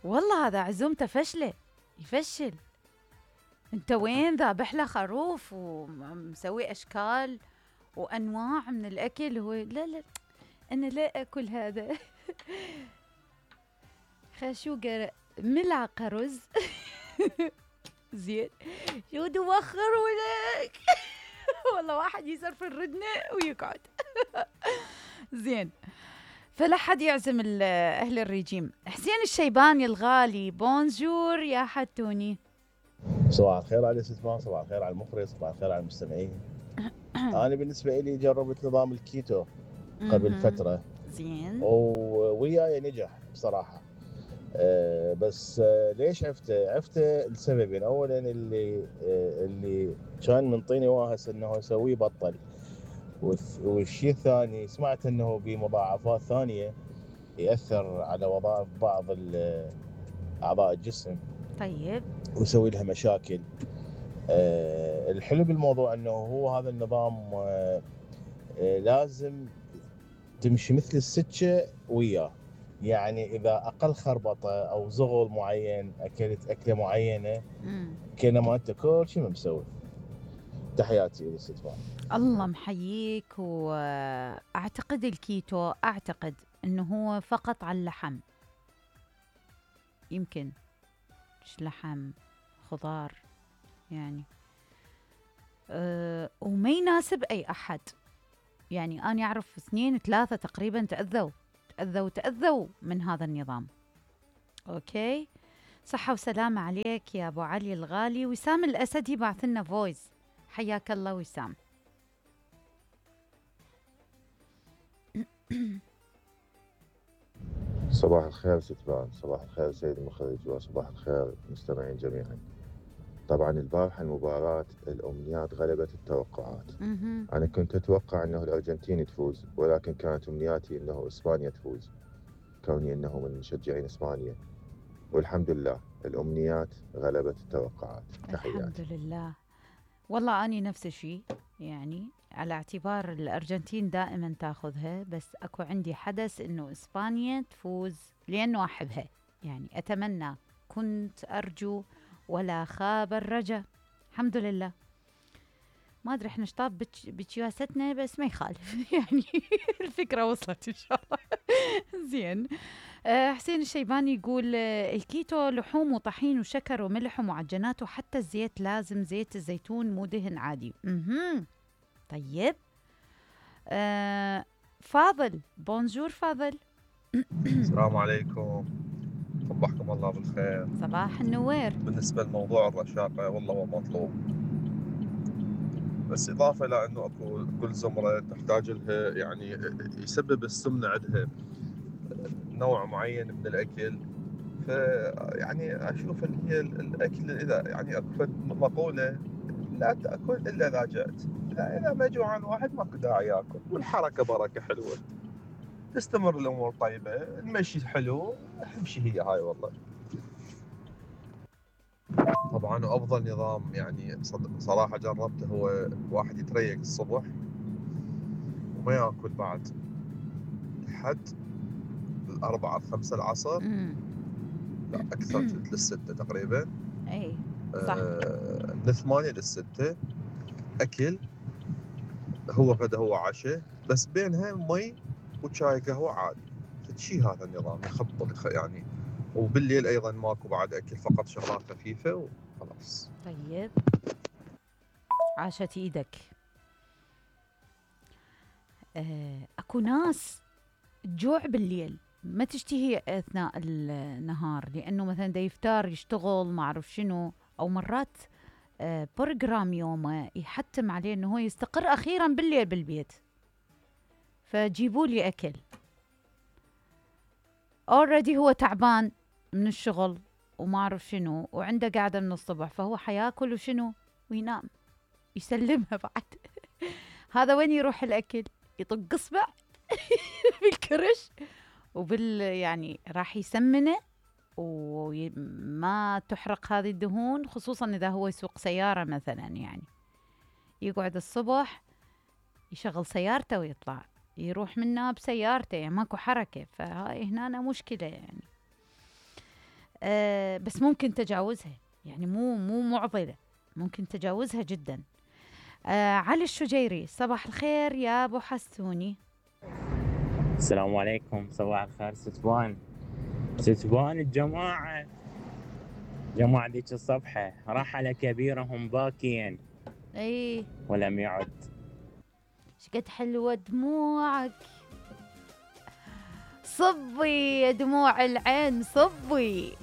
والله هذا عزومته فشلة، يفشل. انت وين ذابح له خروف ومسوي اشكال وانواع من الاكل؟ هو لا لا، انا لا اكل هذا. خشوقة ملعقة رز. زين، شو توخر ولك؟ والله واحد يصرف الردنة ويقعد. زين، فلا حد يعزم أهل الرجيم. حسين الشيباني الغالي، بونجور يا حتوني. صباح الخير على الاستثمار، صباح الخير على المخرج، صباح الخير على المستمعين. أنا بالنسبة لي جربت نظام الكيتو قبل فترة. زين. وياي نجح بصراحة. بس ليش عفت لسببين. أولا اللي كان منطيني واهس أنه يسويه بطل، والشيء الثاني سمعت أنه بمضاعفات ثانية يأثر على وظائف بعض أعضاء الجسم. طيب. ويسوي لها مشاكل. الحلو بالموضوع أنه هو هذا النظام لازم تمشي مثل السكة وياه. يعني إذا أقل خربطة أو زغل معين، أكلت أكلة معينة، كأنما أنت كل شيء ما مسوي. تحياتي للاستثمار. الله محييك. وأعتقد الكيتو، أعتقد أنه هو فقط على اللحم، يمكن مش لحم، خضار يعني. وما يناسب أي أحد. يعني أنا أعرف 2 3 تقريبا تأذوا من هذا النظام. أوكي، صحة وسلامة عليك يا أبو علي الغالي. وسام الأسدي بعث لنا فويس، حياك الله وسام. صباح الخير ستبان، صباح الخير سيد المخرج، وصباح الخير مستمعين جميعا. طبعا البارحة المباراة الأمنيات غلبت التوقعات. أنا كنت أتوقع أنه الأرجنتين تفوز، ولكن كانت أمنياتي أنه إسبانيا تفوز، كوني أنه من مشجعين إسبانيا. والحمد لله الأمنيات غلبت التوقعات. تحياتي. الحمد لله. والله أني نفس الشيء، يعني على اعتبار الأرجنتين دائما تاخذها، بس أكو عندي حدث إنه إسبانيا تفوز لأنه أحبها. يعني أتمنى، كنت أرجو ولا خاب الرجا. الحمد لله. ما أدري إحنا شطاب بتشياستنا، بس ما يخالف. يعني الفكرة وصلت إن شاء الله. زين. حسين الشيباني يقول الكيتو لحوم وطحين وشكر وملح ومعجنات، وحتى الزيت لازم زيت الزيتون مو دهن عادي. طيب. فاضل، بونجور فاضل. السلام عليكم، صبحكم الله بالخير. صباح النوير. بالنسبة لموضوع الرشاقة والله هو مطلوب، بس إضافة إلى أنه أكو كل زمرة تحتاج لها، يعني يسبب السمنة عندها نوع معين من الأكل. فيعني أشوف اللي هي الأكل، إذا يعني أكو مقولة لا تأكل إلا إذا جأت. إذا ما جوعان واحد ماكو داعي يأكل، والحركة بركة حلوة، تستمر الأمور طيبة، المشي حلو، أهم شيء هي هاي والله. طبعا وافضل نظام يعني صراحه جربته هو واحد يتريق الصبح وما ياكل بعد لحد 4 5 العصر. لا اكثر، كنت لل6 تقريبا. اي صح. من 8 لل6 اكل، هو غدا هو عشاء، بس بينها مي وشاي قهوه عادي. فشي هذا النظام يخبط يعني. وبالليل ايضا ماكو بعد اكل، فقط شغلات خفيفه وخلاص. طيب، عاشت ايدك. اكو ناس تجوع بالليل، ما تشتهي اثناء النهار، لانه مثلا دا يفتار يشتغل ما اعرف شنو، او مرات بروجرام يومه يحتم عليه انه هو يستقر اخيرا بالليل بالبيت، فجيبوا لي اكل. اوريدي هو تعبان من الشغل وما اعرف شنو، وعنده قاعده من الصبح، فهو حياكل وشنو وينام، يسلمها بعد. هذا وين يروح الاكل؟ يطق اصبع بالكرش يعني راح يسمنه، وما تحرق هذه الدهون، خصوصا اذا هو يسوق سياره مثلا. يعني يقعد الصبح يشغل سيارته ويطلع يروح منها بسيارته، يعني ماكو حركه، فهاي هنا مشكله يعني. بس ممكن تجاوزها، يعني مو معضلة، ممكن تجاوزها جدا. علي الشجيري، صباح الخير يا ابو حسوني. السلام عليكم، صباح الخير ستبان الجماعة ذيك الصبحة رحل كبيرهم باكيا اي ولم يعد. شقد حلوة دموعك، صبي دموع العين صبي.